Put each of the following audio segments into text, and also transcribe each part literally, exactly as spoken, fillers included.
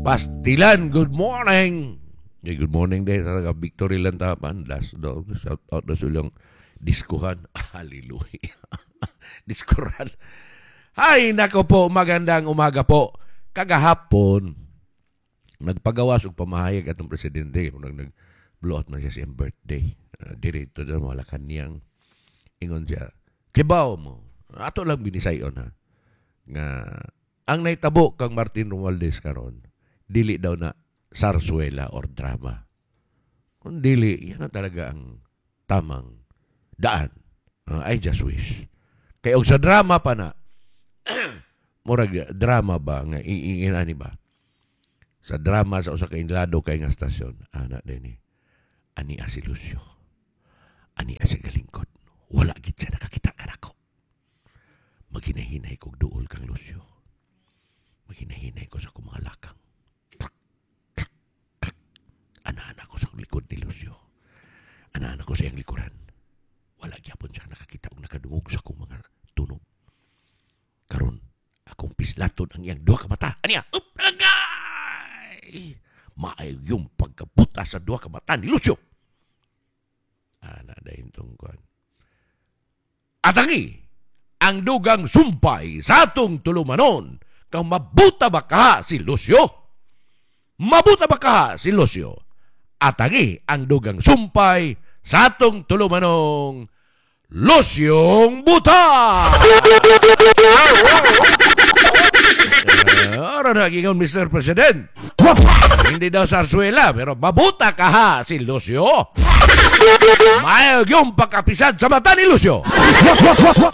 Pastilan, good morning. Hey, good morning day sa taga Victory Lantapan. Last do, shout out na silang diskuhan. Hallelujah. Diskuran. Ay, nako po, magandang umaga po. Kagahapon, nagpagawas og pamahayag atong presidente. Nag nag blow out man siya sa iyang birthday. Uh, dirito na Malacanang. Ingon siya, kibaw mo. Ato lang binisayon ha. Nga ang naitabo kang Martin Romualdez karon, dili daw na sarsuela or drama. Kung dili, yan na talaga ang tamang daan. Uh, I just wish. Kay og sa drama pa na, murag drama ba nga iingin ani ba? Sa drama sa usa ka inlado kay nga stasyon, ana dinhi. Ani si Lucio. Ani si galingkod. Wala gid siya nakakita kanako. Maginahinay kog duol kang Lucio. Maginahinay ko sa akong mga lakang. Klak, klak, klak. Ana-ana ko sa likod ni Lucio. Ana-ana ko sa iyang likuran. Wala gyapon siya nakakita og nakadungog sa akong mga tunog. Karon, akong pislaton ang iyang duha ka mata. Aniya, up, agay! Maayo yung pagkabuta sa duha ka mata ni Lucio. Ana dahin tong kuan. Atangi, ang dugang sumpay sa atong tulumanon kang mabuta ba ka si Lucio? Mabuta ba ka si Lucio? Atangi ang dugang sumpay sa atong tulumanong Luciong Buta! Uh, Ora na gingon Mister President. Hindi daw sarsuela, pero mabuta ka ha si Lucio. Maayo yung pagkapisad sa mata ni Lucio.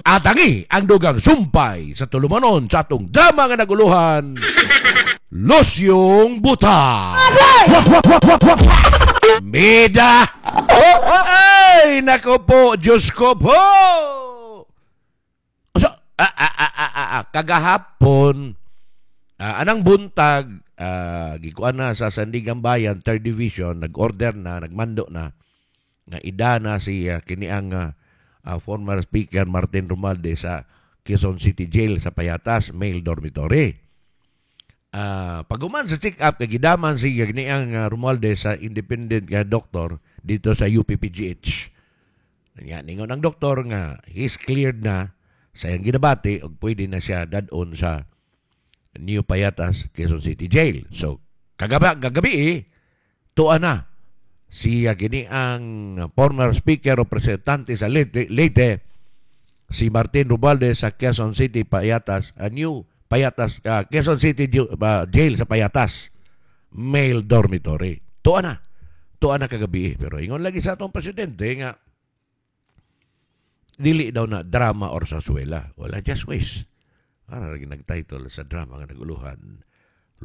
Atangi ang dugang sumpay sa tulumanon sa atong drama nga naguluhan, Luciong Buta. Bida! Ay, nako po, Diyos ko po! So, ah, ah, ah, ah, ah, ah, kagahapon, ah, anang buntag, ah, gikuan na sa Sandiganbayan, third Division, nag-order na, nagmando na, nga ida na si uh, kini ang ah, ah, former Speaker Martin Romualdez sa Quezon City Jail sa Payatas, male dormitory. Ah, paguman sa check-up, kay gidaman si kini ang uh, Romualdez sa independent nga doktor dito sa U P P G H. Nya ningon ang doktor nga he's cleared na sa iyang ginabati ug pwede na siya dad-on sa New Payatas, Quezon City Jail. So kagabi kagabi eh, tuwa na si uh, kini ang former speaker o representante sa Leyte, Leyte si Martin Romualdez sa Quezon City Payatas, a New Payatas, uh, Quezon City uh, Jail sa Payatas, male dormitory. Tuwa na. Tuwa na kagabi. Pero ingon lagi sa atong presidente nga dili daw na drama or sarsuela. Wala, just wish. Para lagi nag-title sa drama nga naguluhan,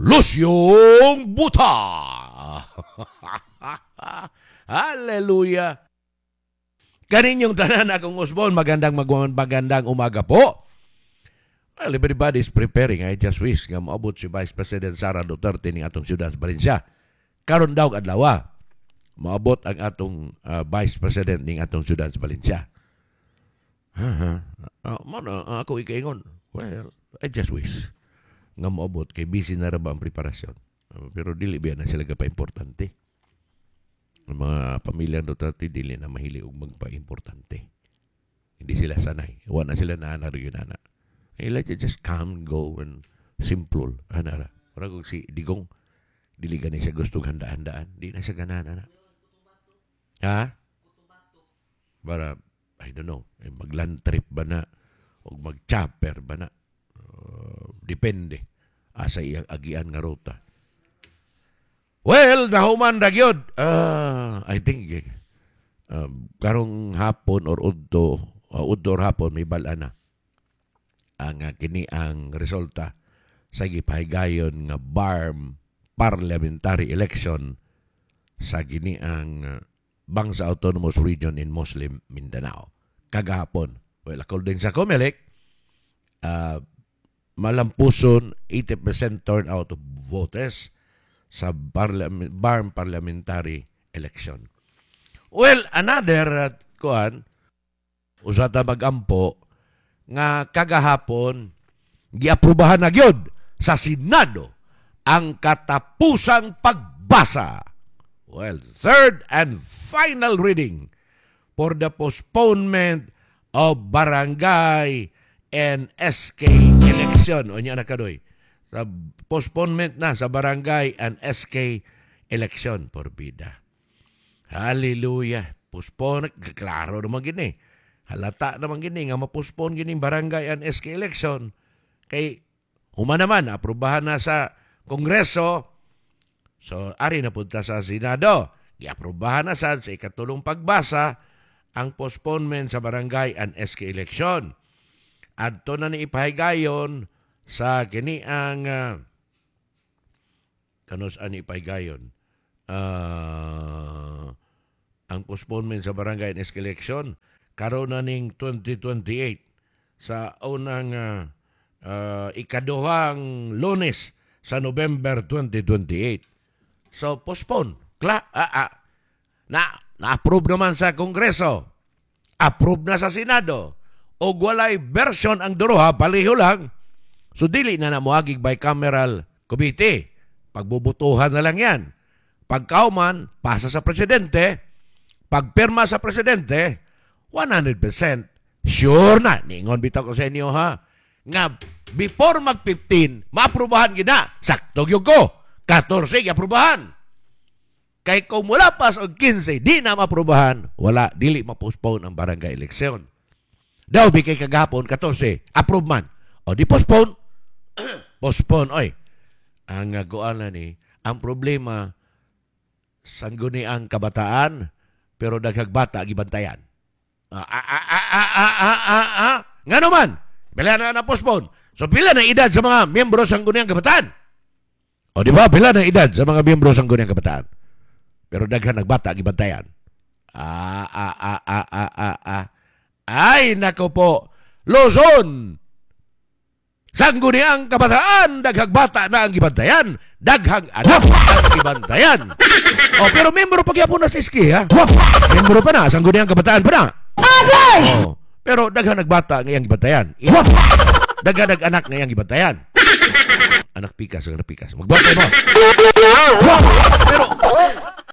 Luciong Buta! Hallelujah! Kaninyong tanan akong usbon, magandang magandang umaga po. Well, everybody is preparing. I just wish nga moabot si Vice President Sara Duterte ning atong siyudad sa Valencia. Karon daw adlaw, moabot ang atong uh, Vice President ning atong siyudad sa Valencia. Ha ha. Uh, mo na ako ikaingon. Well, I just wish nga moabot kay busy na ra ba ang preparasyon. Uh, pero dili biya na sila pa importante. Ang mga pamilya Duterte dili na mahilig og magpa-importante. Hindi sila sanay. Wa na sila na ana na. Eh, like just come, go, and simple. Ana ra. Murag og si Digong, dili gani siya gusto handa-handaan. Di na siya ganahan, ana. Ha? Para, I don't know, eh, mag-land trip ba na? O mag-chopper ba na? Uh, depende asa iyang agian nga ruta. Well, nahuman ra gyud. Uh, I think eh, um, karong hapon or udto, uh, udto or hapon may bala na ang uh, kini ang resulta sa gipahigayon nga B A R M parliamentary election sa kini ang uh, Bangsa Autonomous Region in Muslim Mindanao kagahapon. Well, according sa COMELEC, uh, malampuson eighty percent turnout of voters sa parliament, B A R M parliamentary election. Well, another uh, kuan usa ta magampo nga kagahapon giaprobahan na gyud sa Senado Ang katapusang pagbasa. Well, third and final reading for the postponement of barangay and S K election. O niya na kadoy. Sa postponement na sa barangay and S K election por bida. Hallelujah. Postpone, klaro naman gini. Halata naman gini nga ma-postpone gini barangay and S K election. Kay human naman, aprobahan na sa Kongreso. So, ari na punta sa Senado. Giaprobahan na sad sa ikatulong pagbasa ang postponement sa barangay and S K election. Adto na ni ipahigayon sa kini ang uh, kanus ani ipahigayon uh, ang postponement sa barangay and S K election karon na ning twenty twenty-eight sa unang uh, uh, ikaduhang Lunes sa November twenty twenty-eight. So postpone. Kla ah, ah. Na na-approve naman sa Kongreso. Approve na sa Senado. O walay version ang duroha, paliho lang. So dili na na moagig bicameral committee. Pagbubutuhan na lang yan. Pagkauman, pasa sa presidente. Pagpirma sa presidente, one hundred percent sure na. Ningon bitaw ko sa inyo ha. Nga before mag fifteen, maaprubahan gina. Sakto gyud ko. fourteen giaprubahan. Kay kung mula pa sa fifteen, di na maaprubahan, wala, dili ma-postpone ang barangay election. Daw, bi kay kagahapon, fourteen, approve man. O di postpone. Postpone, oy. Ang uh, na ni, ang problema, sangguniang kabataan, pero daghag bata gibantayan. Ah, ah, ah, ah, ah, ah, ah, ah, ah. Nga naman, pila na na-postpone. So pila na edad sa mga miyembro sa sangguniang kabataan? O di ba, pila na edad sa mga miyembro sa sangguniang kabataan? Pero daghan nagbata gibantayan. Ah, ah, ah, ah, ah, ah, ah. Ay, nako po. Luzon! Sangguniang kabataan, daghang bata na ang gibantayan, daghang anak ang gibantayan. Oh, pero membro pa gyapon na sa S K, ha? Membro pa na, sangguniang kabataan pa na. Oh, pero daghang nagbata nga iyang gibantayan. Daghang nag-anak nga iyang gibantayan. Anak pikas, anak pikas. Magbantay mo. Pero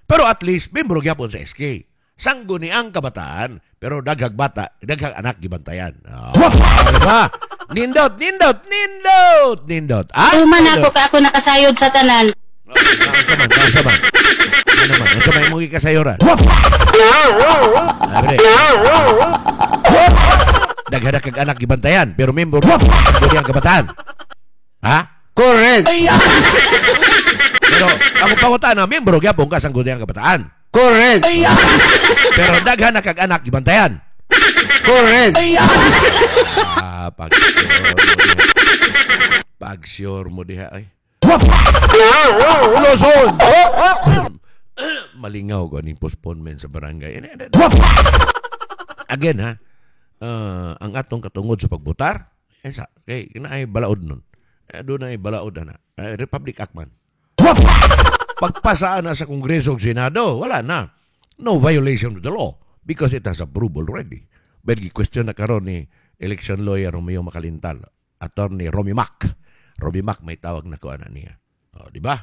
pero at least membro gyapon sa S K. Sangguniang kabataan, pero daghang bata, daghang anak gibantayan. Oh, diba? Nindot, nindot, nindot, nindot. Ah, Tuman ako ka ako nakasayod sa tanan. Unsa man, unsa man. Ano man, unsa man imong gikasayuran? Abre. Daghan kag anak gibantayan, pero membro sangguniang kabataan. Ha? Correct. Pero ako pangutana, membro gyapon ka sangguniang kabataan. Correct. Pero daghan na kag anak gibantayan. Correct. Ah, pag sure mo diha. Pag sure mo diha ay. Luzon! Malingaw ko aning postponement sa barangay. Again ha, uh, ang atong katungod sa pagbutar, eh, sa, kay kina ay balaod nun. Eh, doon ay balaod na. Eh, Republic Act man. Pagpasaan na sa Kongreso ug Senado, wala na. No violation of the law because it has approved already. But question na karon ni election lawyer Romeo Macalintal, Attorney Romy Mac. Romy Mac may tawag na ko ana niya. O, di ba?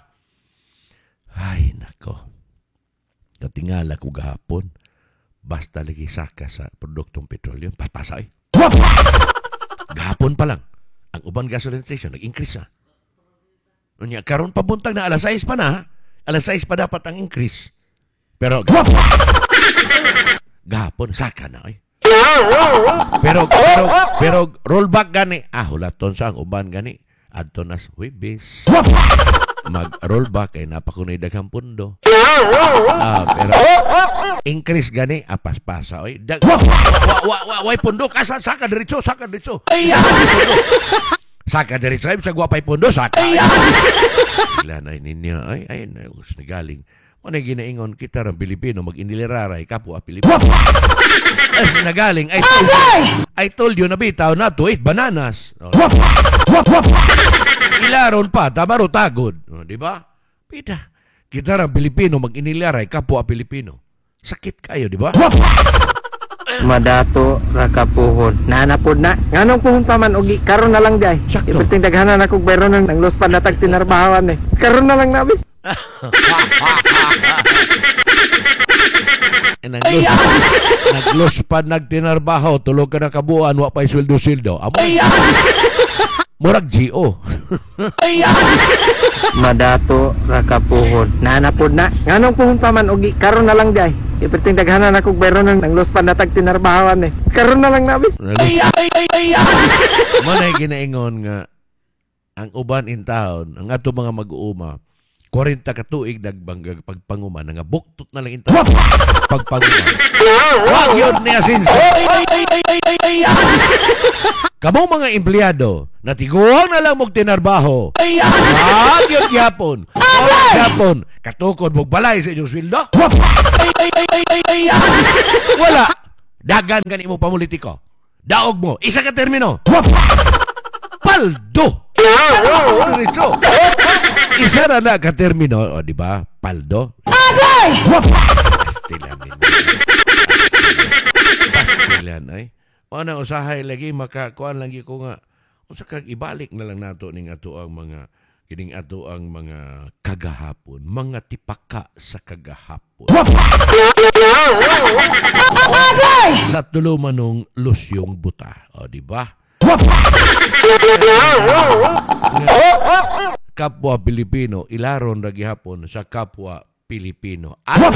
Ay, nako. Katingala ko gahapon. Basta lagi saka sa produktong petrolyo. Paspasa eh. Gahapon pa lang. Ang uban gasoline station, nag-increase na. Unya, karon pabuntag na alas sais pa na. Ha? Alas sais pa dapat ang increase. Pero gahapon saka na eh. Pero pero pero rollback gani. Ah, hulaton sa ang uban gani. Adto na sa Huwebes. Mag rollback kay napakunay daghang pundo. Ah, pero increase gani ah, paspasa oy. Dag, wa wa wa wa pundo kasa saka diretso, saka diretso. Saka diretso ay sa gwapay pundo saka. Ila na ninyo ay ay na us ni galing. Mo na ginaingon kita rang Pilipino mag-iniliraray kapwa Pilipino. As nagaling I told you, I told you na bitaw na to eat bananas. Oh. Ilaron pa, tabaro tagod. Oh, di ba? Pita. Kita rang Pilipino mag-inilaray kapwa Pilipino. Sakit kayo, di ba? Madato ra ka puhon. Naa pod na. Nganong puhon pa man og karon na lang di ay. Sakto. Iperting daghanan akong bayronon nang los pa natag tinarbahawan eh. Karon na lang nabi. Eh, naglos, naglos pa nagtinarbaho, tulog ka na kabuan, wa pa'y sweldo-sweldo. Amo, murag G O. Madato ra ka puhon. Naa pod na. Nganong puhon pa man og karon na lang di ay. Iperting daghanan akong bayronon nang los pa natag tinarbahawan eh. Karon na lang nabi. Mo na ginaingon nga ang uban in town, ang ato mga mag-uuma, kwarenta ka tuig nagbanggag pagpanguma, nga buktot na lang in town pagpanguma. Wag yun niya sinsa. Kamo mga empleyado, natiguang na lang mong tinarbaho. Wag yun gyapon. Wag gyapon. Katukod mong balay sa inyong sweldo. Wala. Dagan ka mo pamulitiko. Daog mo. Isa ka termino. Paldo. Diretso. Isa na na ka termino. O, di ba? Paldo. Pastilan ninyo. Pastilan, ay. O na usahay lagi makakuan lagi ko nga usa kag ibalik na lang nato ning ato ang mga kining ato ang mga kagahapon, mga tipaka sa kagahapon. Sa tulumanong lusyong buta. O, di ba? Kapwa Pilipino, ilaron ra gihapon sa kapwa Pilipino. At